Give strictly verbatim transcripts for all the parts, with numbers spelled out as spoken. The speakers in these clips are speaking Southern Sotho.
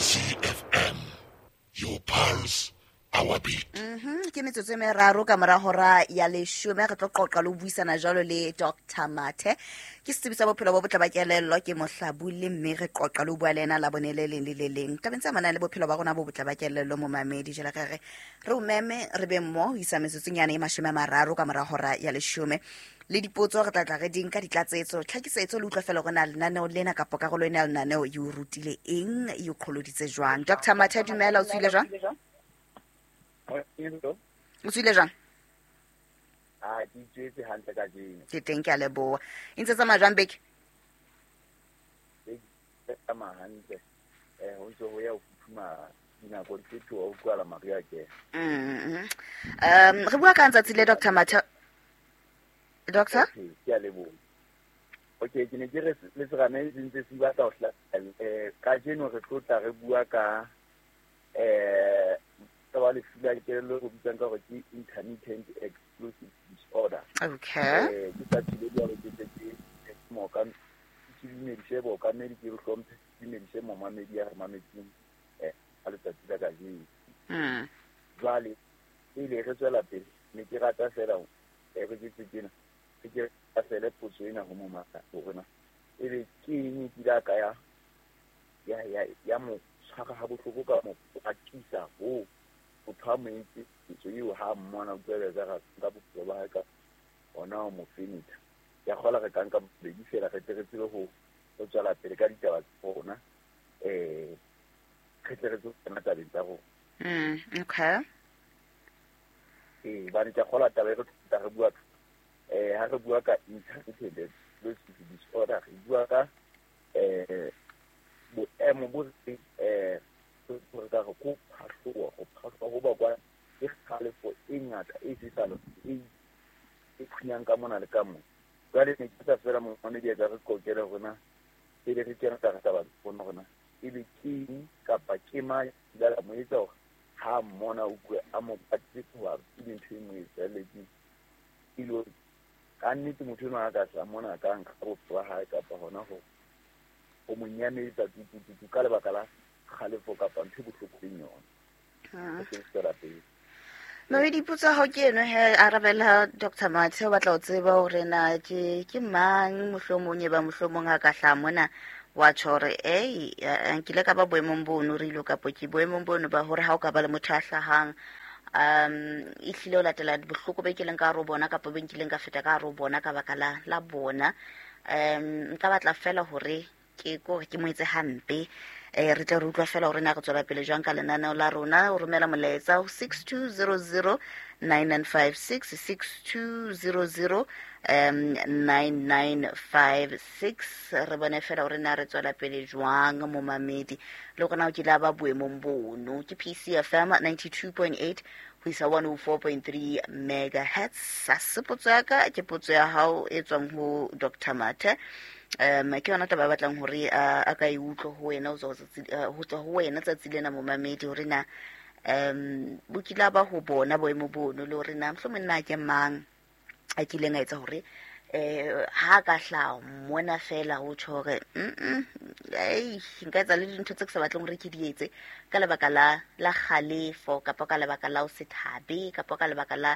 P C F M, your pulse, our beat. Mhm, ke metsotso e meraro ka mora hora ya leshome. Re tlo qoqa le ho buisana jwalo le Doctor Mathe, ke setsebi sa bophelo bo botle ba kelello, ke mohlabole, mme re qoqa le ho bua le ena la bone le leng le le leng tabeng tse amanang le bophelo ba rona bo botle ba kelello. Momamedi, jwale re re re o meme, re be mmo ho isa metsotsonyana e mashome a mararo ka mora hora ya leshome. Le dipotso re tla tla re di nka, ditlatsetso, tlhakisetso, le utlwa fela hore na lenaneo lena kapa karolo ena ya lenaneo e o rutile eng, e o qholoditse jwang. Doctor Mathe, dumela. O tswile jwang? O tswile jwang? A ke itswetse hantle kajeno. Ke teng, ke a leboha. E ntse tsamaya jwang beke? Ke tsamaya hantle, um ho ntse ho ya ho futhumala, dinako di fetoha, ho utlwahala mariha ke. Mm, um re bua ka tsatsi le, Doctor Mathe, doctor? Okay, ke a leboha. Okay, ke ne ke re le serame se ntse se batla ho hla um kajeno re tlo tla re bua ka um taba lefu la kelello re bitsang ka hore ke intermittent explosive disorder. Okay eh ke sa tsile jwalo, ke tle ke moka ke dumedise bookamedi, ke re hlomphe, ke dumedise momamedi ya re mametseng um ka letsatsi la kajeno. Mm. Jwale pele re tswela pele, ne ke rata fela eh, re ke tjena re ke fele potso ena ho momaka hore na ebe ke eng e kile a ka ya ya ya ya mo tshwara ha bohloko, ka mo kwatisa ho motho a mo entse ketso eo, ha mmona utlwele ka ka bophelo ba hae ka hona ho mo fenetha. Ke a kgola re ka nka bobedi fela, re tle re tsebe ho ho tswela pele ka ditaba tsa rona, um re tle re tsebe ho kena tabeng tsa rona. Mm, okay Ee, hobane ke a kgolwa taba e re tla re bua eh ha re bua ka intermittent explosive disorder, re bua ka eh boemo bo re eh re ka re ko phahloha, ho phahloha ho bakwa ke kgalefo e ngata e sesalo e e phunyang ka mona le ka mona. Jwale ne ke tla fela momamedi a ka re qoqele hore na pele re kena ka taba rona hore na ebe ke eng kapa ke mang a mo etsa hore ha mmona o utlwe a mo kwatetse, hoba ke ntho e mo etsahalletseng e le hore ka nnete motho enwa a ka tla mona ka nka bophelo ba hae kapa hona ho ho mo nyametsa tutututu ka lebaka la kgalefo kapa ntho e bohloko leng yona. Mm. Re tlo tswela pele. Mamedi, potso ya hao ke eno he, arabela Doctor Mathe. O batla ho tseba hore na ke ke mang mohlomong e ba mohlomong a ka hlaha mona wa tjho hore ei, eh, nkile ka ba boemong bono re ilo, kapo ke boemong bono ba hore ha o ka ba le motho a hlahang um ehlile o latela bohloko be kileng ka hare ho bona kapa be nkileng ka feta ka hare ho bona ka baka la la bona. um nka batla fela hore ke kore ke mo etse hampe. um re tle re utlwa fela hore na re tswela pele jwang ka lenaneo la rona. O romela molaetsa ho six two zero zero nine nine five six, six two zero zero um nine nine five six. Re bone fela hore na re tswela pele jwang. Momamedi, le hore na o kile a ba boemong bono. Ke P C F M ninety-two point eight ho isa one oh four point three megahertz. Ha se potso ya ka, ke potso ya hao e tswang ho Doctor Mathe. um ke yona taba e batlang hore a a ka e utlwe ho wena, ho tswa tsatsi- eh, ho tswa ho wena tsatsi lena, momamedi, hore na um bo kile a ba ho bona boemo bono, le hore na mohlomong na ke mang a kileng a etsa hore eh ha ka hlaha mona fela ho tjho hore mm ei, nka etsa le dintho tse ke sa batleng hore ke di etse ka lebaka la la kgalefo, kapa ka lebaka la ho se thabe, kapa ka lebaka la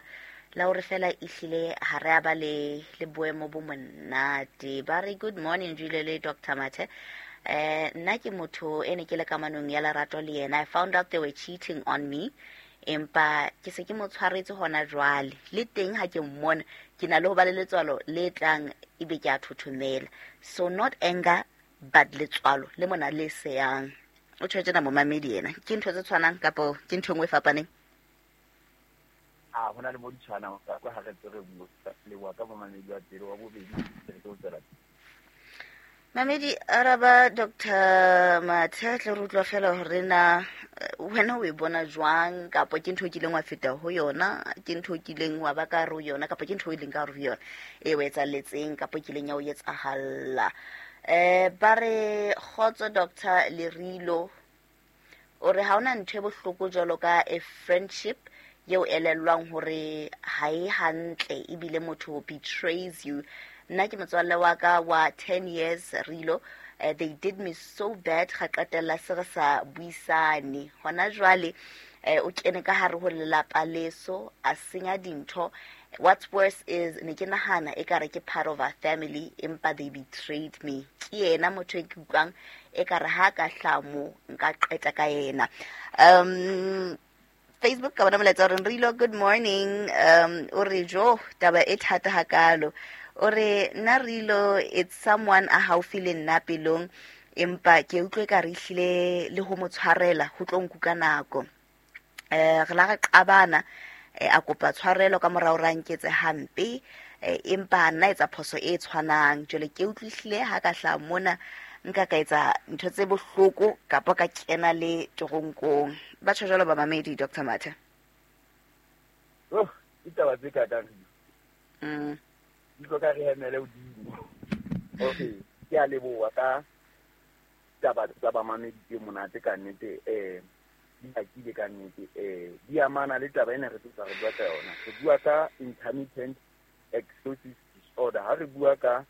la hore fela ehlile ha re a ba le le boemo bo monate. Ba re, good morning Julie le Doctor Mathe. eh nna ke motho e ne ke le kamanong ya lerato le yena. I found out they were cheating on me, empa ke se ke mo tshwaretse hona jwale. Le teng ha ke mmona, ke na le ho ba le letswalo le tlang, ebe ke a thothomela. So not anger, but letswalo le mona le seyang. O tjho tjena momamedi ena, ke ntho tse tshwanang kapo ke ntho e nngwe e fapaneng? A ho na le mo di tshwanang ka kwa ha re tse re bua leboha ka momamedi wa pele, wa bobedi re tlo tswela. Mamedi, araba Doctor Mathe, tle re utlwa fela hore na eh, wena o e bona jwang, kapo ke ntho o kileng wa feta ho yona, ke ntho o kileng wa ba ka hare ho yona, kapo ke ntho e leng ka hare ho yona e o etsahalletseng, kapo e kileng ya o etsahalla. um ba re, kgotso Doctor Lerilo. O re ha hona ntho e bohloko jwalo ka a friendship eo elellwang hore ha e hantle, ebile motho betrays you. Nna ke motswalle wa ka wa ten years, Rilo. Uh, they did me so bad ga qetella se re sa buisane. Hona jwale eh o kene ka hare ho lelapa leso a senya dintho. What's worse is ne ke nahana e ka re ke part of our family, empa they betrayed me. Ke yena motho e ke utlwang e ka re ha ka hlamo nka qeta ka yena. Um Facebook ka bona molaetsa o reng Rilo, good morning. Um o re jo taba e thata hakalo. O re nna Rilo, it's someone a haufi le nna pelong, empa ke utlwe ka re hlile le ho mo tshwarela ho tlo nkuka nako. Eh re la re qabana, a kopa tshwarelo ka morao ra nketse hampe, empa nna etsa phoso e tshwanang. Jwale ke utlwihlile ha ka hla mona nka ka etsa ntho tse bohloko kapa ka kena le toronkong. Ba tjho jwalo ba mamedi Doctor Mathe. Oh, ditaba tse ka kang. Mm. Di tlo ka re hemele hodimo. Okay, ke a leboha ka taba tsa ba mamedi tse monate ka nnete, eh di akile ka nnete, eh di amana le taba ena re tlo re bua ka yona. Re bua ka intermittent explosive disorder. Ha re bua ka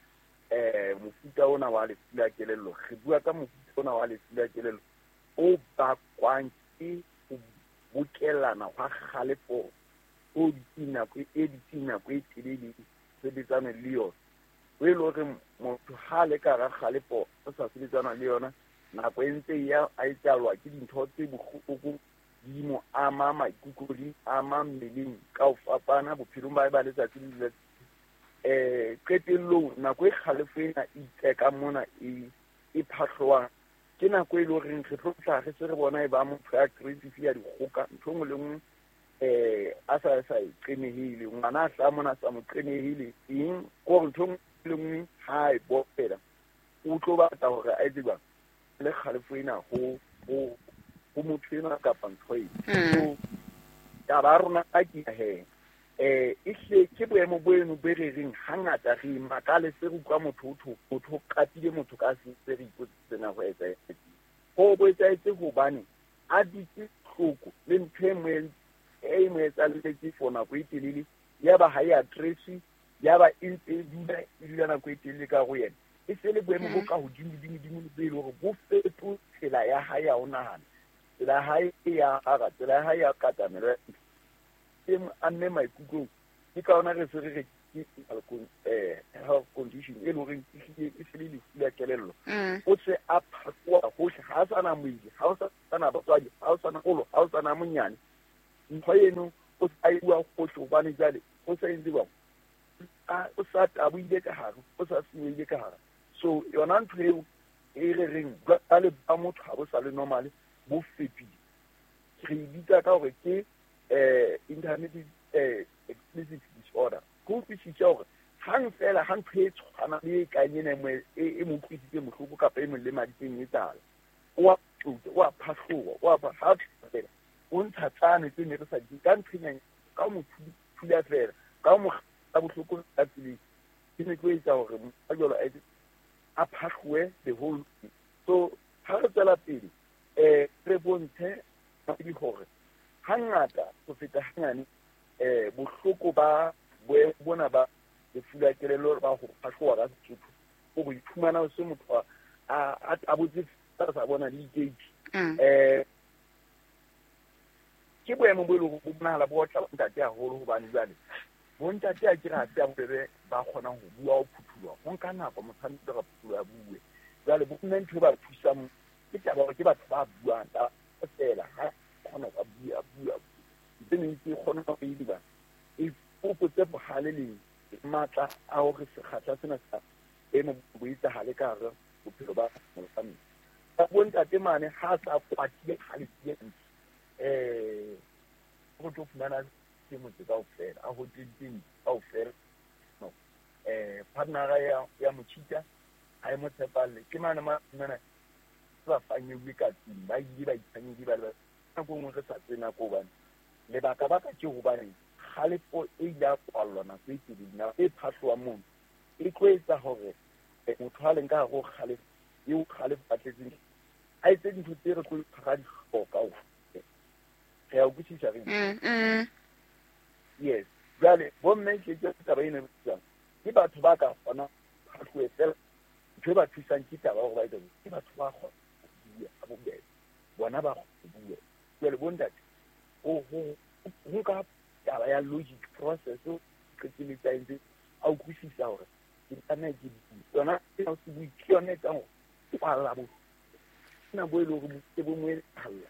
eh mofuta ona wa lefu la kelello, re bua ka mofuta ona wa lefu la kelello o bakwang ke ho bokellana hwa kgalefo o dutseng nako e dutseng nako e telele sebetsana le yona. O e le hore motho ha le ka hara kgalefo o sa sebetsana le yona nako e ntse ya a etsahalwa ke dintho tse bohloko di mo ama maikutlo, di ama mmeleng ka ho fapana bophelong ba hae ba letsatsi le letsatsi. Eh qetellong nako e kgalefo ena e iteka mona e e phahloang ke nako e le horeng re tlo tla re se re bona e ba motho ya aggressive ya dikgoka ntho nngwe le nngwe eh a sa sa e qenehile, ngwana a hlaha mona a sa mo qenehile eng, kore ntho nngwe le nngwe ha e bopela o tlo batla hore a etse jwang le kgalefo ena ho ho ho motho enwa kapa ntho ena. So taba ya rona a ke he eh e hle ke boemo bo eno bo re reng hangata re makale se re utlwa motho o tho motho o qapile motho ka se se re ipotse na ho etsahetse. Ho bo etsahetse hobane a dutse hloko le ntho e mo e mo etsahalletse for nako e telele, ya ba ha e address, ya ba e ntse e dula e dula nako e telele ka ho yena. E se le boemo bo ka hodimo dimo dimo bo e le hore bo fetotse tsela ya hae ya ho nahana, tsela ya hae ya ara, tsela ya hae ya katamelo e mo amme maikutlong. Ke ka hona re se re re ke eh health condition e le horeng e hlile e se le lefu la kelello. O se a phakoa hohle, ha o sana moedi, ha o sana batswadi, ha o sana kgolo, ha o sana monyane. Ntho eno o sa e bua hohle hobane jwale o sa entse jwang, o sa taboile ka hare, o sa senyehile ka hare. So yona ntho eo e re reng jwale ba motho ha bo sa le normal, bo fetohile. Re e bitsa ka hore ke eh intermittent eh explosive disorder. Ko utlwisisa hore hang fela ha ntho e tshwana le e kang ena e e mo utlwisitse bohloko kapa e mo lemaditseng e tsala, o a tuta, o a phahloha, o a ha fela o ntsha tsane tse ne re sa di ka ntho e ka mo thula fela ka mo ka bohloko ka tseleng ke ne ke etsa hore a jwalo a a phahlohe the whole. So ha re tswela pele eh re bontshe di hore hangata ho feta hanyane eh bohloko ba boemo bona ba lefu la kelello ba ho phahloha ka Sesotho o go iphumana o se motho a a tabotse sa bona le dikeiti. Eh ke boemo bo e leng bo bonahala bo otla bontate haholo hobane jwale bontate a ke re ha se a bobebe ba kgonang ho bua ho phuthuloha, ho nka nako motho a ntse a phuthuloha a bue. Jwale bo mme ntho e ba thusang ke taba hore ke batho ba buang ta fela ha kgona ho bua bua tse neng ke kgona ho e diba e fokotse bohale le matla a hore sekgahla sena sa emo bo etsahale ka hare bophelo ba mosadi. Ba bontate mane ha sa kwatile halefile eh go tlo fumana ke motse kaofela a hoteleng kaofela no eh partner ya ya mochita ha e mo tshepalle ke mane ma mane ba fanyeuwe ka tlung ba ile ba itsanyedi ba le nako nngwe re sa tsena ko hobane lebaka baka ke hobane kgalefo e ile ya kwallwa nako e telele, nako e phahloha mono e tlo etsa hore motho a leng ka hare ho kgalefo eo kgalefo a tletseng a etse dintho tse re tlo ra di hloka kaofela. Re a utlwisisa re? Mm, yes. Jwale bomme ke ke taba ena e bitswang ke batho ba ka kgona phahlohe fela Ntho e ba thusang ke taba hore ba etsa ke batho ba kgona ho bua ka bobebe, bona ba kgona ho bua. Jwale bontate ho ho nka taba ya logic process o qetelletse a entse a utlwisisa hore ke tlameha ke bue. Yona ena se bue ke yona e etsang hore kwalla bo na bo e le hore bo bo mo etsahalla.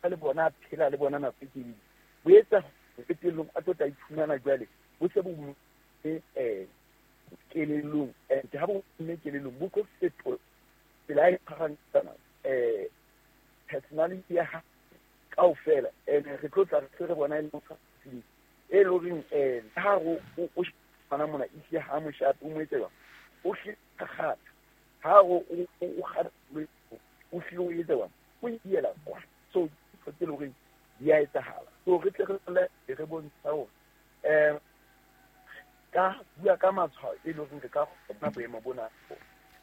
Le bona a phela le bona nako e telele. Bo etsa qetellong a tlo tla iphumana jwale bo se bo eh kelellong, and ha bo mme kelellong bo tlo fetola tsela e tshwarang eh personality ya hae kaofela. And re tlo tla re re bona e le motho e le horeng eh ha o o tshwana mona ehlile ha moshape o mo etse jwang, o hlile kgatha ha o o kgatha o hlile o etse jwang, o iela kwa. So tse le horeng di a etsahala. So re tle re re bontsha hore eh ka bua ka matshwao e leng hore re ka kgona boemo bona.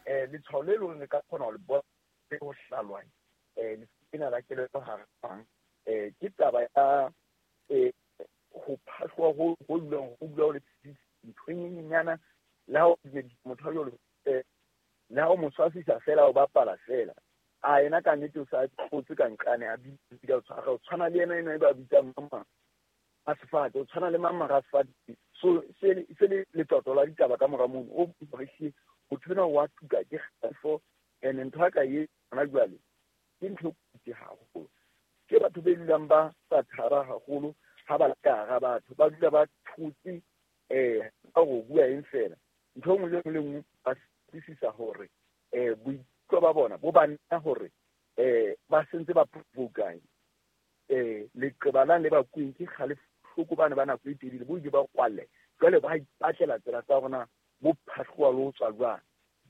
Eh letshwao le leng hore re ka kgona ho le bona le ho hlalwang eh lena la kelello hara bang eh ke taba ya eh ho phahloha ho ho dulang ho dula ho le ntho e nyenyana le ha o motho a jwalo eh le ha o mo tshwasisa fela o bapala fela a yena ka nnete o sa kgotse ka nqane a bitsa o tshwara o tshwana le yena ena e ba bitsang mama a sefate o tshwana le mama ra sefate. So se se le letoto la ditaba ka mora mono o re motho ena wa tuka ke kgalefo. And ntho ya ka e hona jwale ke ntho e kotsi haholo. Ke batho be dulang ba sa thaba haholo ha ba le ka hara batho, ba dula ba thotse eh ka ho bua eng fela. Ntho e nngwe le nngwe le nngwe ba utlwisisa hore eh boikutlo ba bona bo ba nna hore eh ba sentse ba provoke eh leqeba la le ba kueng ke kgalefo hloko bana ba nako e telele bo ile ba kwalle jwale ba ipatlela tsela tsa rona bo phahloha le ho tswa jwang.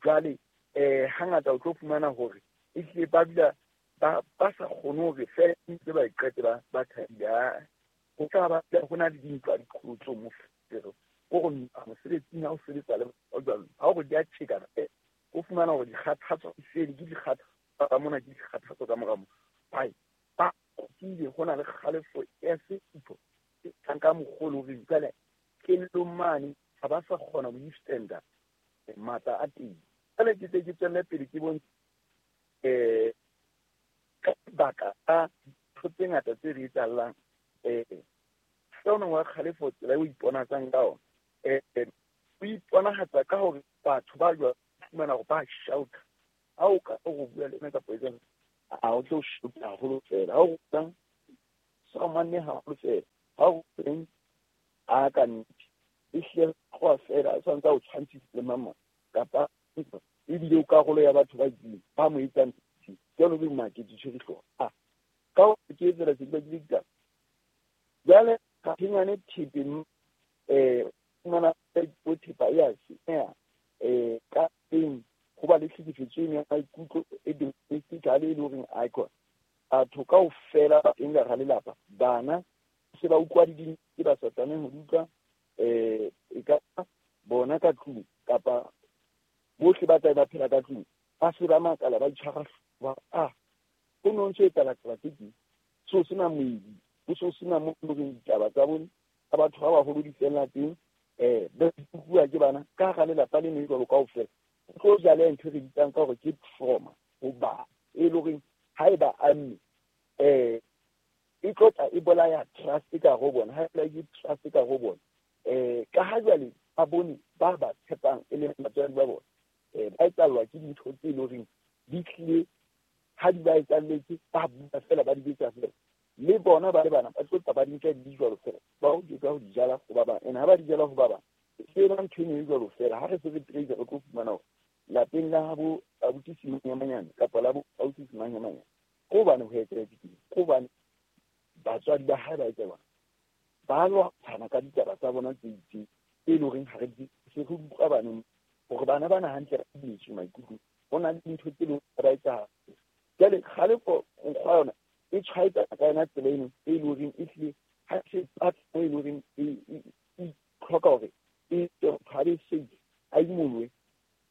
Jwale eh hangata o tlo fumana hore ehlile ba dula ba ba sa kgone hore fela ntse ba iqete ba ba thabile. Ho tla ba ho na le dintwa diqholotso mo fero o re mosebetsing ha o sebetsa le jwalo ha o re di a tjheka o fumana hore dikgathatso di fele ke dikgathatso ka mona ke dikgathatso ka mora mo bai ba kile ho na le kgalefo ya sefutho e ka mokgolo hore jwale kelellong mane ha ba sa kgona ho withstanda matla a teng. Jwale ke tse ke tswelle pele ke bontshe eh ka baka a dintho tse ngata tse re etsahalang eh sona wa kgalefo tsela e o iponatsang ka ona eh o iponahatsa ka hore batho ba jwa fumana hore ba shout ha o ka o bua le ena kapa etsang a o tlo shout haholo fela ha o tlang sa manne haholo fela ha o teng a ka nnete ehlile go fela a tshwanetse o tshwantshise le mama kapa ebile o karolo ya batho ba itseng ba mo etsang jalo be makete tshwere hlooho a ka o ke tsela tse di ditaba. Jwale ka phenyane thepe eh fumana bo thepa ya senyeha eh ka teng ho ba le tlhekefetso eno ya maikutlo e domestically e le horeng icon batho kaofela ba teng ka hara lelapa bana se ba utlwa di tse ba sa tlamehang ho di utlwa eh e ka bona ka tlung kapa bohle ba tla ba phela ka tlung ba se ba makala ba itshwara ba a ho no ntse etsahala taba tse ding so sena moedi ho so sena mo loreng ditaba tsa bone tsa batho ba baholo di fella teng eh ba bua ke bana ka hara lelapa le ne jwalo kaofela o tlo jala ntho e re bitsang ka hore ke trauma ho ba e le horeng haeba amme eh e tlo tla e bolaya trust ka ho bona ha e ke trust ka ho bona eh ka ha jwale ba bone ba ba tshepang e leng batswadi ba bona eh ba etsallwa ke dintho tse le horeng di tlile ha di ba etsalletse ba bua fela ba di betsa fela le bona ba le bana ba tlo tla ba di nka di jwalo fela ba o ke ka ho di jala ho ba bang ene ha ba di jala ho ba bang se ba ntho e jwalo fela ha re se re trace re tlo fumana hore lapeng la habo abuti Simanyamanyane kapa la bo ausi Simanyamanyane ko bane ho etsahetse ke ko bane batswadi ba hae ba etsa bana ba lwantshana ka ditaba tsa bona tse itseng tse leng horeng ha re di se re utlwa baneng hore bana bana hantle ba dimetswe maikutlo ho na le dintho tse leng ba etsahala. Jwale kgalefo nkgwa yona e tshwaetsa ka yona tsela eno e leng horeng ehlile ha se patlo e leng horeng e tlhoka hore e motho a be safe a imolohe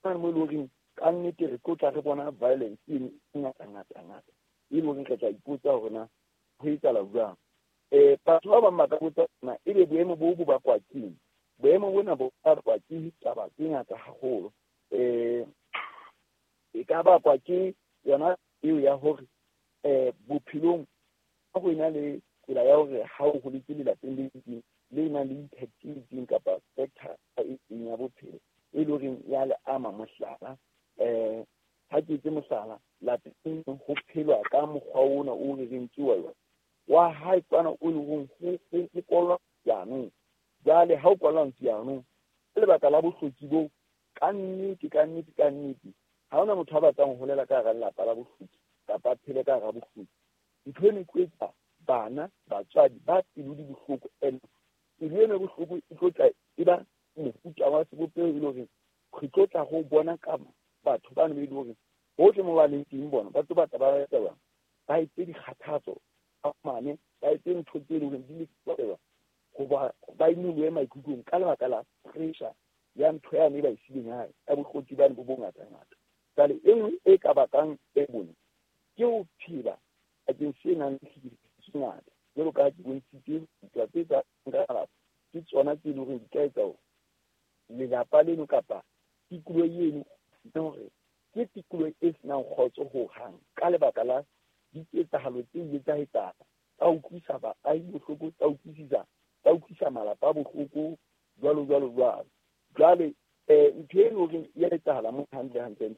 mo e leng horeng ka nnete re tlo tla re bona violence eno e ngata ngata ngata e leng horeng re tla ipotsa hore na ho etsahala jwang. Eh batho ba bang ba ka botsa na ebe boemo bo bo bakwa keng. Boemo bona bo bakwa ke ditaba tse ngata haholo. Eh E ka bakwa ke yona eo ya hore eh bophelong ha go ena le tsela ya hore ha o holetse lelapeng le itseng le nang le impact e itseng kapa sector e itseng ya bophelo e le horeng ya le ama. Mohlala, eh ha ke etse mohlala, lapeng ho phelwa ka mokgwa ona o re reng ke wa wa hae kwana o le horeng ho ho kolwa jaanong. Jwale ha o kwalwa jaanong ka lebaka la bohloki bo, ka nnete ka nnete ka nnete ha hona motho a batlang ho holela ka hara lelapa la bohloki kapa a phele ka hara bohloki. Ntho eno e tlo etsa bana batswadi ba pelo di bohloko, and pelo eno e bohloko e tlo tla e ba mofuta wa sebopeho e le horeng re tlo tla go bona ka batho bano be e le horeng hohle mo ba leng teng bona ba tlo batla ba etsa jwang, ba etse dikgathatso ba mane, ba etse ntho tse leng horeng di le hoba ba inolohe maikutlong ka lebaka la pressure ya ntho yane e ba e sileng hae ya bohloti bane bo bongatangata. Jwale e nngwe e ka bakang e bone ke ho phela bakeng se nang le tlhekefetso e ngata, jwalo ka ha ke bontshitse ditaba tse tsa ka malapa ke tsona tse leng hore di ka etsa hore lelapa leno kapa tikoloho eno hore ke tikoloho e senang kgotso hohang ka lebaka la diketsahalo tse ile tsa etsahala tsa utlwisa baahi bohloko, tsa utlwisisa tsa utlwisa malapa bohloko jwalo jwalo jwalo. Jwale eh ntho e leng hore ya etsahala mo hantle hantle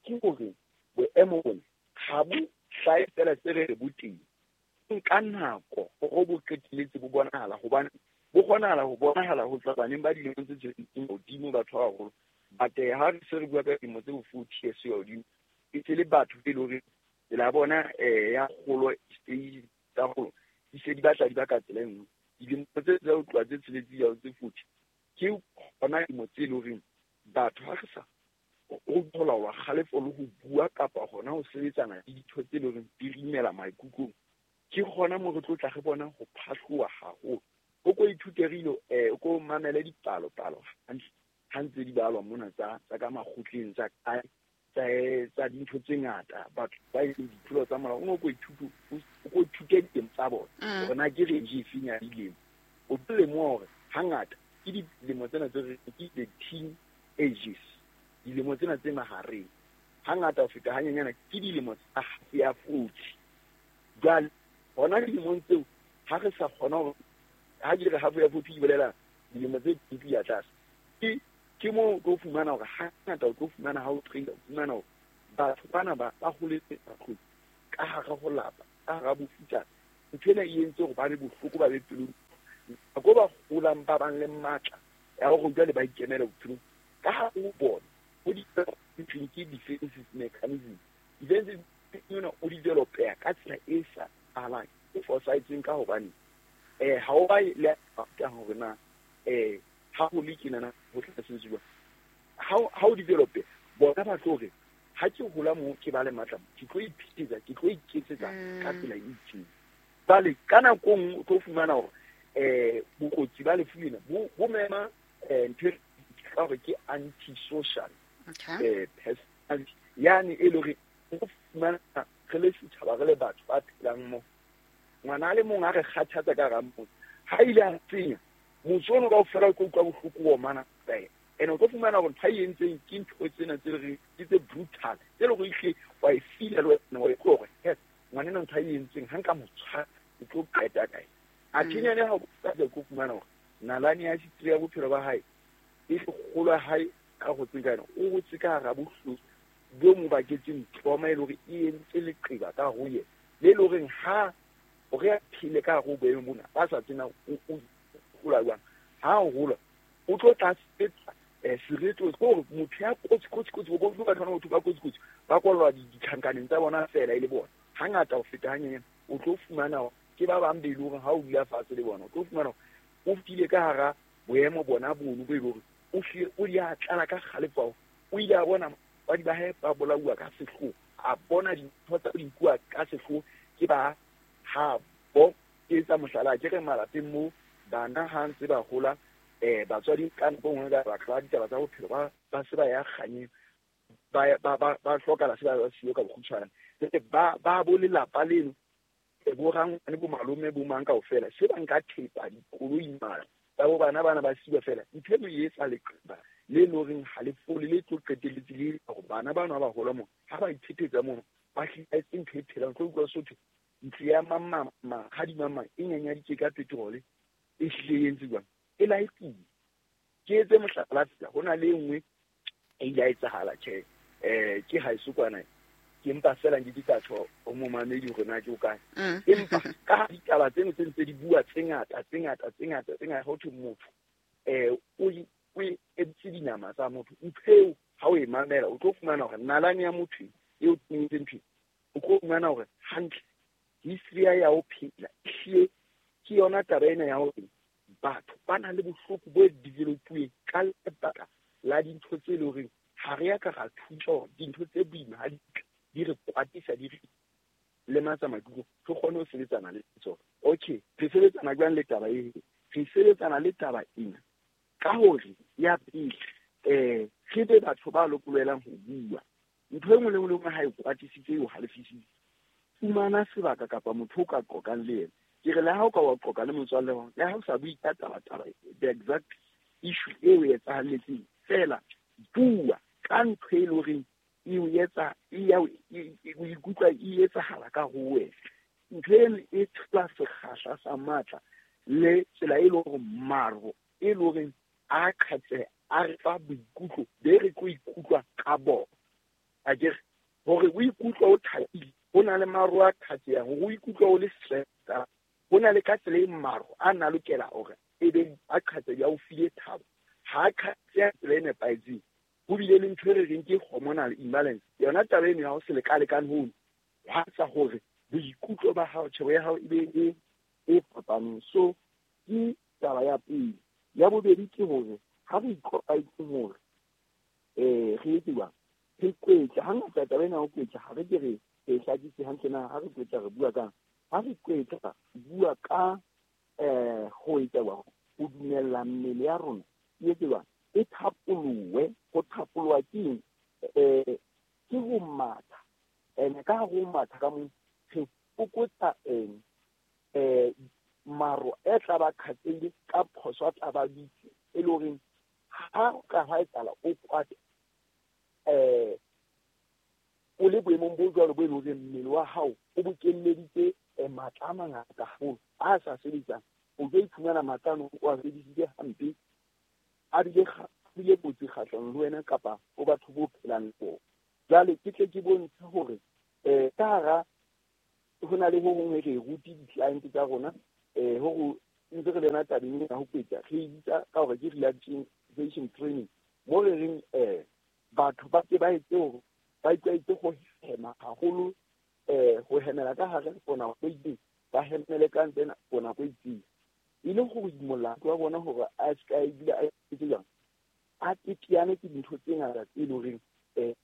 ke hore boemo bona ha bo hlahe fela se re re bo teng, nka nako hore bo qetelletse bo bonahala, hobane bo kgonahala ho bonahala ho tswa baneng ba dilemo tse tsheletseng hodimo batho ba baholo. But ha re se re bua ka dilemo tse bo forty years ho ya hodimo, e se le batho be leng hore tsela ya bona eh ya kgolo stage tsa kgolo di se di batla di ba ka tsela e nngwe. Dilemo tse tsa ho tloha tse tsheletseng ya ho tse forty ke hona dilemo tse leng horeng batho ha re sa ho laola kgalefo le ho bua kapa hona ho sebetsana le ditho tse leng horeng di re imela maikutlong, ke hona moo re tlo tla re bona ho phahloha haholo. O ko ithute re eh o ko mamele dipalopalo hantle ha ntse di balwa mona tsa tsa ka makgotleng tsa kae tsa tsa dintho tse ngata, batho ba etseng ditlolo tsa molao, o no ko ithute o ko ithute diteng tsa bona hore na ke range efeng ya dilemo. O tlo lemoha hore hangata ke dilemo tsena tse re ke the teen ages, dilemo tsena tse mahareng, hangata ho feta hanyenyana ke dilemo tsa half ya forty. Jwale hona dilemong tseo ha re sa kgona hore ha ke re half ya forty ke bolela dilemo tse twenty ya tlase, ke ke moo o tlo fumana hore hangata o tlo fumana ha o train o fumana hore batho bana ba ba holetse batlong ka hara ho lapa, ka hara bofutsana. Ntho ena e entse hore ba be bohloko, ba be pelong nako ba holang ba bang le matla ya hore jwale ba ikemele bophelong ka hare ho bona ho di ke defensive mechanism. Defensive ena o developeha ka tsela e sa alang e fosahetseng ka hobane eh ha o ba le ka hore na eh ha ho le tjena ho tla sebetsuwa ha ha o develope bona ba tlo re ha ke hola mo ke ba le matla ke tlo iphetsa ke tlo iketsetsa ka tsela e itseng. Jwale ka nako nngwe o tlo fumana hore eh bokotsi ba lefu lena bo bo mema eh ntho e ka hore ke anti-social eh personality yani e le hore o fumana re le setjhaba re le batho ba phelang mo ngwana a le mong a re kgathatsa ka hara motse ha ile a tsenya motse ono kaofela o tlo utlwa bohloko bo mana fela. And o tlo fumana hore ntho e entseng ke ntho tsena tse re ke tse brutal tse le hore ehlile wa e feel-a le wena wa utlwa hore yes ngwanena ntho e entseng ha nka mo tshwara ke tlo qeta kae. A thinyane ha o tla tlo fumana hore nalane ya history ya bophelo ba hae e kgolo ya hae ka ho tseng ka yona o hotse ka hara bohloko bo mo baketseng trauma e le hore e entse leqeba ka ho yena le le horeng ha hore a phele ka hare ho boemo mona ba sa tsena o hola jwang ha o hola o tlo tla sebetsa eh sereto ke hore motho ya kotsi kotsi kotsi bo ba tshwana motho ba kotsi kotsi ba kwallwa ditjhankaneng tsa bona fela e le bona hangata ho feta hanyenyane o tlo fumana ke ba bang be le hore ha o dula fatshe le bona o tlo fumana o fetile ka hara boemo bona bono bo e le hore o hlile o di a tlala ka kgalefo o ile a bona batswadi ba hae ba bolauwa ka sehloho, a bona dintho tsa di nkuwa ka sehloho ke ba ha bo ke etsa mohlala ke re malapeng mo bana ha ntse ba hola eh batswadi ka nako nngwe ka lebaka la ditaba tsa bophelo ba ba se ba ya kganyeng ba ba ba ba hlokahala se ba ba siyo ka bokgutshwane ba ba bo lelapa leno bo rangwane bo malome bo mang kaofela se ba nka thepa dikoloi mara tsa bo bana bana ba siwa fela ntho eno e etsa leqeba le loreng ha le fole le tlo qetelletse le hore bana bana ba hola mo ha ba iphetetsa mono ba hlahetse ntho e phelang tlo utlwa sotho ntlo ya mama mahadi mama e nyanyaditse ka petrol e hlile e entse jwang e laetile. Ke etse mohlala fela ho na le e nngwe e ile ya etsahala tjhe eh ke ha isukwana ke mpa fela nke ke ka tjho o momamedi hore na ke o kae empa ka ditaba tseno tse ntse di bua tse ngata tse ngata tse ngata tse ngata ho thwe motho eh o o editse dinama tsa motho ntho eo ha o e mamela o tlo fumana hore nalane ya motho eo tsentseng ntho o tlo fumana hore hantle history ya ho phela ehlile ke yona taba ena ya hore batho ba na le bohloko bo developuweng ka lebaka la dintho tse leng hore ha re ya ka ra thusa hore dintho tse boima ha di di re kwatisa di re lematsa maikutlo re kgone ho sebetsana le tsona. Okay, re sebetsana jwang le taba e? Re sebetsana le taba ena ka hore ya pele eh re be batho ba lokolohelang ho bua. Ntho e nngwe le nngwe le nngwe ha e kwatisitse e o halefisitse, fumana sebaka kapa motho o ka qoqang le yena. Ke re le ha o ka wa qoqa le motswalle wa hao, le ha o sa bue ka taba taba the exact issue eo e etsahalletseng, fela bua ka ntho e leng horeng e o etsa e ya o ikutlwa e etsahala ka ho wena. Ntho eno e thola sekgahla sa matla le tsela e leng hore maro e leng horeng a qhatseha a re fa boikutlo be re tlo ikutlwa ka bona. Akere hore o ikutlwa o thabile ho na le maro a qhatsehang, hore o ikutlwa o le stressed ho na le ka tsela e maro a na lokela hore e be a qhatseha o file thabo. Ha a qhatseha tsela e nepahetseng ho bile le ntho e re reng ke hormonal imbalance. Yona taba eno ya ho se lekalekane hono hwa etsa hore boikutlo ba hao, tjhebo ya hao e be e e fapaneng. So ke taba ya pele. Ya bobedi ke hore ha re itlwaetse hore eh re etse jwang re kwetla. Hangata taba ena ya ho kwetla ha re ke re e hlakise hantle na ha re kwetla re bua kang. Ha re kwetla bua ka eh ho etsa jwang ho dumella mmele ya rona e etse jwang e thapolowe. Ho thapolowa ke eng? Eh ke ho matha. Ene ka ho matha ka mo re fokotsa eng eh maro e tla ba khatsehile ka phoso a tla ba bitse e le horeng ha o ka hwa etsahala o kwate eh o le boemong bo jwalo bo e leng hore mmele wa hao o bokelleditse matla a mangata haholo a sa sebetsang, o tlo iphumana matla ano o a sebedisitse hampe a bile bile kotsi kgahlanong le wena kapa o batho bo phelang le bona. Jwale ke tle ke bontshe hore eh ka hara ho na le ho hong re rute di-client tsa rona eh hore ntse re le yona tabeng ya ho kwetla re e bitsa ka hore ke relaxation training mo re reng eh batho ba ke ba etse hore ba itlwaetse ho hema haholo eh ho hemela ka hare for nako e itseng, ba hemele ka ntle for nako e itseng, e le ho imolla wa bona hore a se ka ebile a etse jwang a teteane ke dintho tse ngata tse leng horeng eh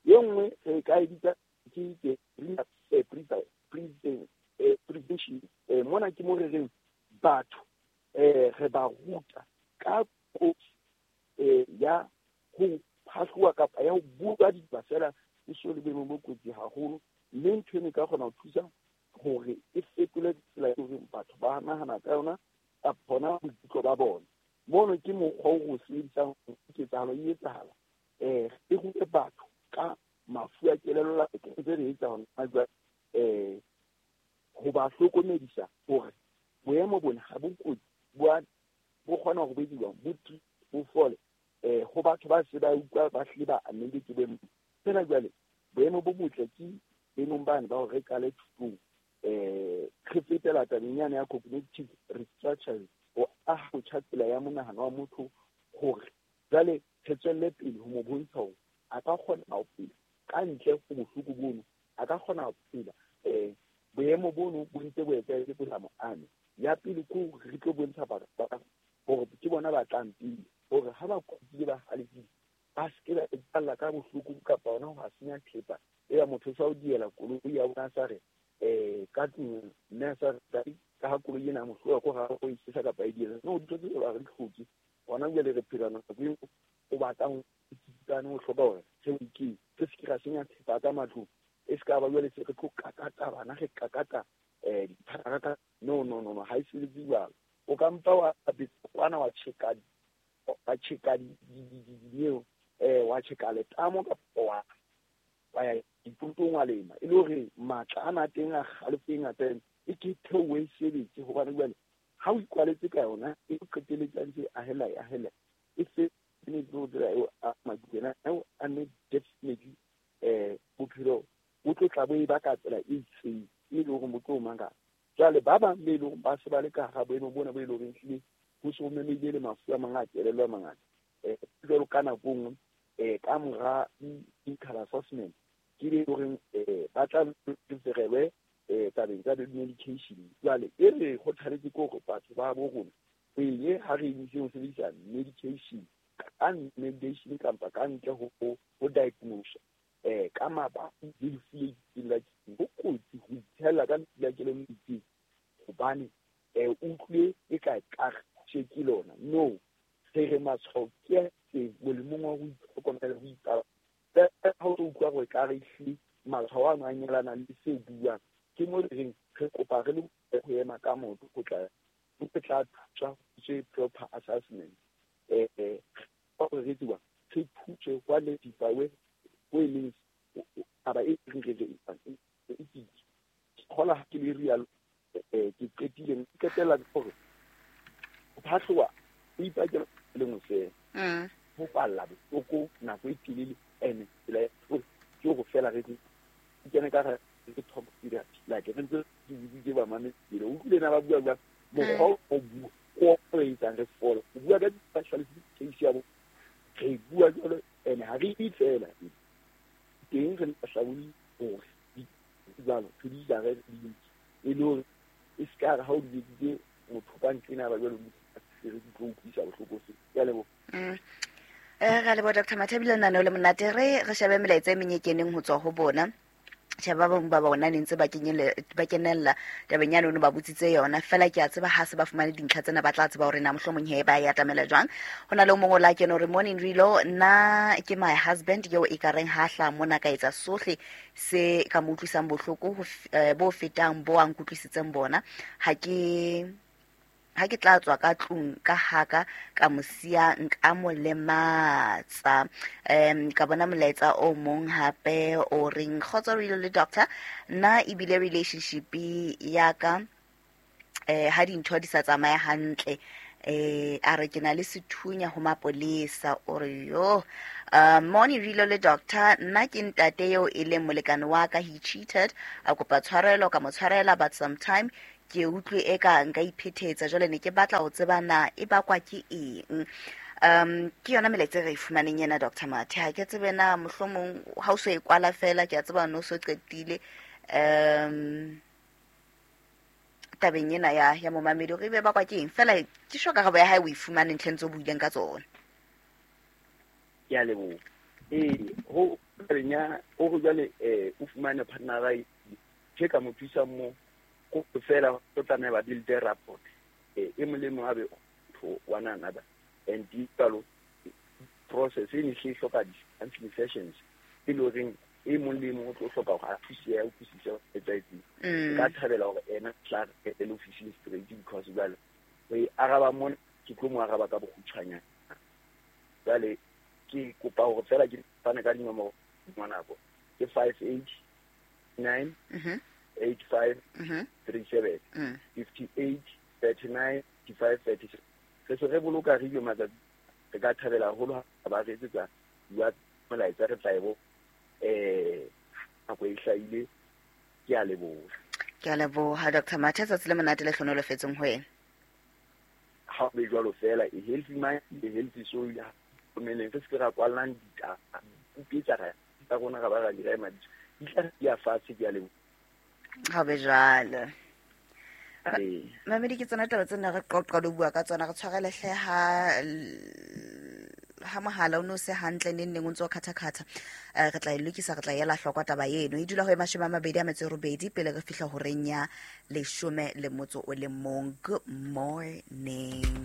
e nngwe re ka e bitsa ke ke prevention. Eh mona ke mo re reng batho eh re ba ruta ka kotsi eh ya ho phahloha kapa ya ho bua ditaba fela e so le boemong bo kotsi haholo, mme ntho eno e ka kgona ho thusa hore e fetole tsela e horeng batho ba nahana ka yona kapa hona boikutlo ba bona. Mono ke mokgwa o re o sebedisang ketsahalo e etsahala eh e rute batho ka mafu a kelello ntse re etsa hona jwale eh ho ba hlokomedisa hore boemo bona ha bo kotsi bo bo kgona ho bediwa bo bo fole eh ho batho ba se ba utlwa ba hlile ba amehile ke boemo. Fela jwale boemo bo botle ke boemong bane ba hore re qale thutong eh re fetela tabeng yane ya cognitive restructuring ho aha botjha tsela ya monahano wa motho hore jwale re tswelle pele ho mo bontsha hore a ka kgona ho phela ka ntle ho bohloko bono, a ka kgona ho phela eh boemo bono bo ntse bo etsahetse bo sa mo ame. Ya pele ke hore re tlo bontsha batho ba hore ke bona ba tlang pele hore ha ba kwatile ba halefile ba se ke ba ipalla ka bohloko kapa hona ho senya thepa eba motho sa o diela koloi ya bona sa re eh ka tlung mme a sa re ka ha koloi ena mohloa ko ha o isisa kapa e diela no dintho tseo ba re di hloke. Hona jwale re phela nako eo o batlang tsitsane o hloka hore re ke re se ke ra senya thepa ka matlung e se ka ba jwale se re tlo kakata bana re kakata eh dipharaka. No no no no ha e sebetse jwalo. O ka mpa wa betsa kwana wa tjheka Wa tjheka di eh wa tjheka letamo kapa wa wa ya dipotong wa lema e le hore matla ana teng a kgalefo e ngata e ke theohe sebetse hobane jwale ha o ikwaletse ka yona e qeteletse ntse a hela a hela e se ne tlo dira eo a madikena eo a ne definitely eh bophelo bo tlo tla bo e baka tsela e itseng e le hore motho o manga jwale ba bang be le ba se ba le ka hara boemo bona bo e le horeng hlile ho se ho memehile le mafu a mang a kelello a mangata eh jwalo ka nako nngwe eh ka mora clinical assessment ke le horeng eh ba tla referelwe eh tabeng tsa medication jwale e re kgothaletse ke hore batho ba bo rona pele ha re emise ho sebedisa medication ka medication kapa ka ntle ho ho diagnose eh ka mabaka le lefu le itseng la ho kotsi ho ithella ka lefu la kelello itseng hobane eh o utlwe e ka ka ke lona no re re matshwao ke a itseng molemong wa ho itlhokomela ho ipala ha o utlwa hore ka re hlile matshwao ano a nyalana le se buang ke mo re reng re kopa re le ho ema ka maoto ho tla ho tla thusa ho proper assessment eh eh re tswa re thuse kwa le dipawe ho e leng taba e re re e e khola ha ke le real eh ke qetile ke qetela hore ho phatloha o ipakela le nngwe fela mm ho palla bohloko nako e telele ene tsela ke ho fela re kene ka re ke talk therapy like re ntse ke biditse ba mametse o utlwile na ba bua bua mokgwa o bua o re etsang re fola o bua ka specialist case ya bo re bua jwalo ene ha re e fela teng re hlabolli hore jwalo re di jare di e le hore e se ka re ha o di biditse motho ka ntlena ba jwalo re di tlo utlwisa bohloko se ke a leboha. Mm. Eh ra leboha Doctor Mathe ebile lenaneo le monate re re shebe melaetsa e meng e keneng ho tswa ho bona tjhe ba bang ba bona ne ntse ba kenyele ba kenella tabeng ya lona ba botsitse yona fela ke a tseba ha se ba fumane dintlha tsena ba tla tseba hore na mohlomong he ba ya atamela jwang ho na le o mongwe o la kene hore morning Rilo nna ke my husband eo e ka reng ha hla mona ka etsa sohle se ka mo utlwisang bohloko ho f- eh, bo fetang bo a nkutlwisitseng bona ha ke ha ke tla tswa ka tlung ka haka ka mo siya nka mo lematsa um ka bona molaetsa o mong hape o reng kgotso Rilo le doctor nna ebile relationship ya ka eh ha dintho di sa tsamaye hantle eh a re ke na le sethunya ho mapolesa o re yo uh, morning Rilo le doctor nna ke ntate eo e leng molekane wa ka he cheated a kopa tshwarelo ka mo tshwarela but sometime ke utlwe e ka nka iphethetsa jwale ne ke batla ho tseba na e bakwa ke eng um ke yona melaetsa e re e fumaneng ena Doctor Mathe ha ke tsebe na mohlomong ha o so e kwala fela ke a tseba no so qetile um tabeng ena ya ya momamedi hore ebe bakwa ke eng fela ke sho karabo ya hae o e fumane ntlheng tse o buileng ka tsona. Ke a leboha ee ho tabeng ya o re jwale eh o fumane partner e ke ka mo thusa mo ko fela o tlameha ba build rapport eh e mong le mong a be to one another and di jalo process e ne e hloka di-counseling sessions e le horeng e mong le mong o tlo hloka hore a thuse a utlwisise ho etsahetseng. Mm. Nka thabela hore ena tla re etele ofising straight because jwale ho e araba mona ke tlo mo araba ka bokgutshwanyane jwale ke kopa hore fela ke fane ka dinomoro ngwanako ke five eight nine Mhm. eight five Mhm. three seven Mm. fifty eight thirty nine five thirty seven re se re boloka radio matsatsi re ka thabela haholo ha ba re etsetsa bua molaetsa re tla e bo eh nako e hlahile ke a leboha. Ke a leboha Doctor Mathe tsatsi le monate le hlonolofetseng ho wena. Ha o be jwalo fela a healthy mind a healthy soul mmeleng re se ke ra kwallang ditaba kupetsa ra tsa rona ra ba ra di rema di tla di ya fatshe ke a leboha. Ha o be jwalo. Ee. Mamedi ke tsona taba tsena re qoqa le ho bua ka tsona re tshwarele hle ha ha mohala o no se hantle neng neng o ntso khatha-khatha eh, re tla e lokisa re tla ela hloko taba eno e dula ho e mashome a mabedi a metso e robedi pele re fihla horeng ya leshome le motso o le mong. Good morning.